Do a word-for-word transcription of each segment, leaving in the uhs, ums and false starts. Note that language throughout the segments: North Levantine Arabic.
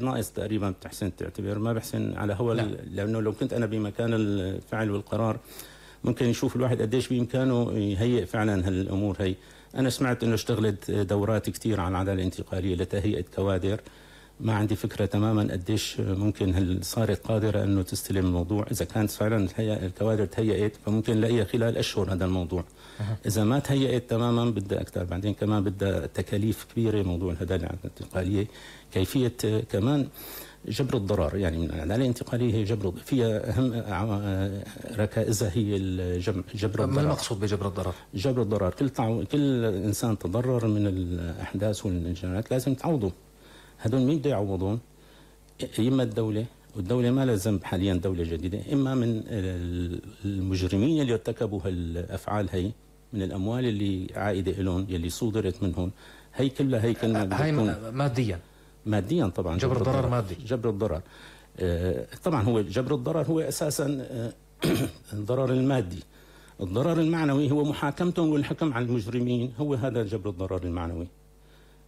ناقص تقريبا بتحسن تعتبر ما بحسن على هو لانه لو كنت انا بمكان الفعل والقرار ممكن يشوف الواحد قديش بامكانه يهيئ فعلا هالامور هي. انا سمعت انه اشتغلت دورات كثير عن العداله الانتقاليه لتهيئه كوادر، ما عندي فكره تماما قديش ممكن هل صارت قادره انه تستلم الموضوع. اذا كانت فعلا الكوادر تهيئت فممكن نلاقيها خلال اشهر هذا الموضوع. أه. اذا ما تهيئت تماما بدها اكثر. بعدين كمان بدها تكاليف كبيره موضوع العداله الانتقاليه، كيفيه كمان جبر الضرر. يعني من العداله الانتقاليه هي جبر، فيها اهم ركائزها هي جبر الضرر. ما المقصود بجبر الضرر؟ جبر الضرر، كل تعو... كل انسان تضرر من الاحداث والانجازات لازم تعوضه. هذول مين بده يعوضون؟ اما الدوله، والدوله ما لها ذنب حاليا دوله جديده، اما من المجرمين اللي ارتكبوا هالافعال هي من الاموال اللي عائده لهم يلي صودرت منهم. هي كلها هي كنا هي ماديا ماديا طبعا. جبر الضرر, الضرر مادي. جبر الضرر آه طبعا هو جبر الضرر هو اساسا آه الضرر المادي. الضرر المعنوي هو محاكمتهم والحكم على المجرمين، هو هذا جبر الضرر المعنوي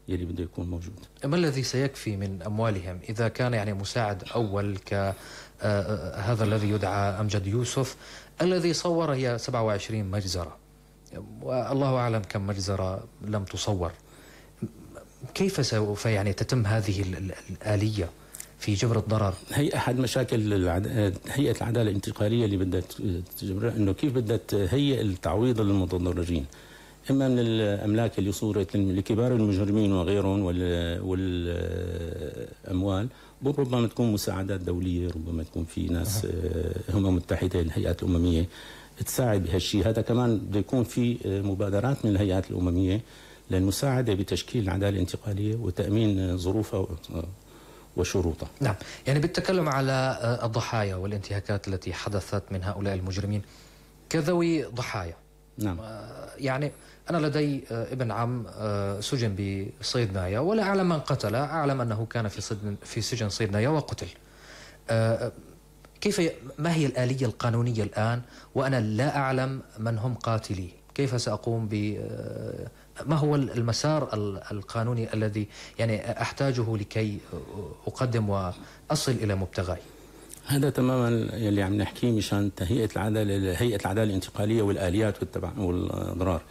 يلي بده يكون موجود. ما الذي سيكفي من اموالهم اذا كان يعني مساعد اول ك هذا الذي يدعى امجد يوسف الذي صور هي سبعة وعشرين مجزره، والله اعلم كم مجزره لم تصور. كيف سوف يعني تتم هذه الآلية في جبر الضرر؟ هي أحد مشاكل العد... هيئة العدالة الانتقالية اللي بدها تجبرها، إنه كيف بدها تهيئ التعويض للمتضررين، إما من الأملاك اللي صورت لكبار المجرمين وغيرهم وال... والأموال، ربما تكون مساعدات دولية، ربما تكون في ناس أه. هم متحدة الهيئات الأممية تساعد بهالشيء هذا. كمان بده يكون في مبادرات من الهيئات الأممية للمساعدة بتشكيل العدالة الانتقالية وتأمين ظروفها وشروطها. نعم، يعني بالتكلم على الضحايا والانتهاكات التي حدثت من هؤلاء المجرمين كذوي ضحايا. نعم. يعني أنا لدي ابن عم سجن بصيد نايا ولا أعلم من قتله، أعلم أنه كان في سجن في سجن صيد نايا وقتل. كيف ما هي الآلية القانونية الآن وأنا لا أعلم من هم قاتليه؟ كيف سأقوم ب ما هو المسار القانوني الذي يعني أحتاجه لكي أقدم وأصل إلى مبتغاي؟ هذا تماما يلي عم نحكيه مشان تهيئة العدالة، هيئة العدالة الانتقالية والآليات والأضرار.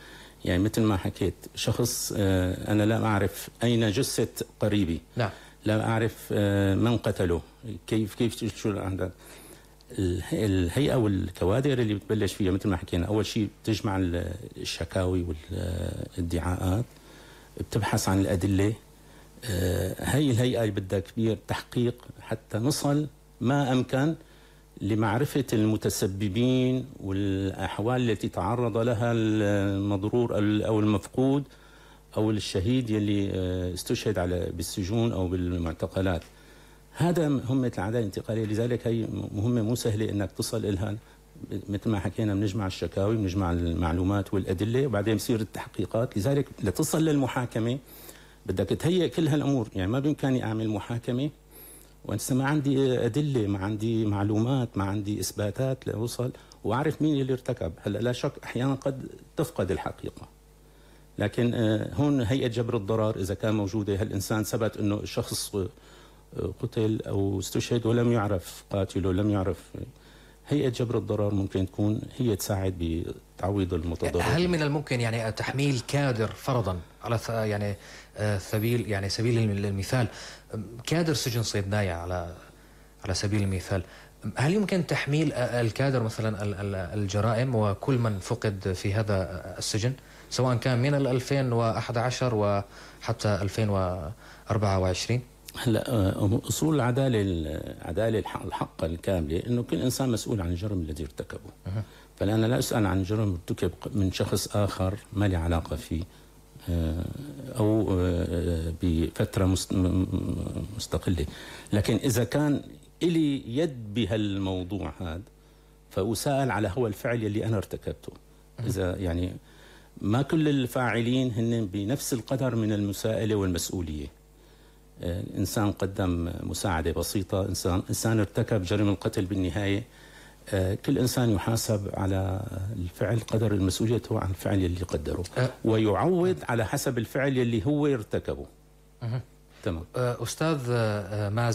يعني مثل ما حكيت، شخص أنا لا أعرف أين جثة قريبي. نعم. لا أعرف من قتله، كيف كيف شو الأحداث. الهيئة والكوادر اللي بتبلش فيها مثل ما حكينا، أول شيء بتجمع الشكاوي والادعاءات، بتبحث عن الأدلة. هي الهيئة اللي بدها كبير تحقيق حتى نصل ما أمكن لمعرفة المتسببين والأحوال التي تعرض لها المضرور أو المفقود أو الشهيد يلي استشهد على بالسجون أو بالمعتقلات. هذا مهمة العدالة الانتقالية، لذلك هي مهمة مو سهلة انك تصل إلها. مثل ما حكينا بنجمع الشكاوي، بنجمع المعلومات والأدلة، وبعدين بصير التحقيقات. لذلك لتصل للمحاكمة بدك تهيئ كل هالأمور. يعني ما بإمكاني أعمل محاكمة وأنا ما عندي أدلة، ما عندي معلومات، ما عندي إثباتات لأوصل وأعرف مين اللي ارتكب. هلا لا شك أحيانا قد تفقد الحقيقة، لكن هون هيئة جبر الضرر إذا كان موجودة، هالإنسان ثبت إنه الشخص قتل أو استشهد ولم يعرف قاتله، لم يعرف، هيئة جبر الضرر ممكن تكون هي تساعد بتعويض المتضرر. هل من الممكن يعني تحميل كادر فرضا على يعني سبيل يعني سبيل المثال كادر سجن صيد نايا على على سبيل المثال، هل يمكن تحميل الكادر مثلا الجرائم وكل من فقد في هذا السجن سواء كان من ألفين وأحد عشر وحتى ألفين وأربعة وعشرين؟ هلا اصول العداله العداله الحق الكامله انه كل انسان مسؤول عن الجرم الذي ارتكبه. أه. فانا لا اسال عن جرم ارتكب من شخص اخر ما لي علاقه فيه او بفتره مستقله، لكن اذا كان الي يد بهالموضوع هذا فاسال على هو الفعل اللي انا ارتكبته. أه. اذا يعني ما كل الفاعلين هن بنفس القدر من المساءله والمسؤوليه. إنسان قدم مساعدة بسيطة، إنسان إنسان ارتكب جرم القتل بالنهاية. كل إنسان يحاسب على الفعل قدر مسؤوليته عن الفعل اللي قدره، ويعوض على حسب الفعل اللي هو ارتكبه. تمام. أستاذ مازن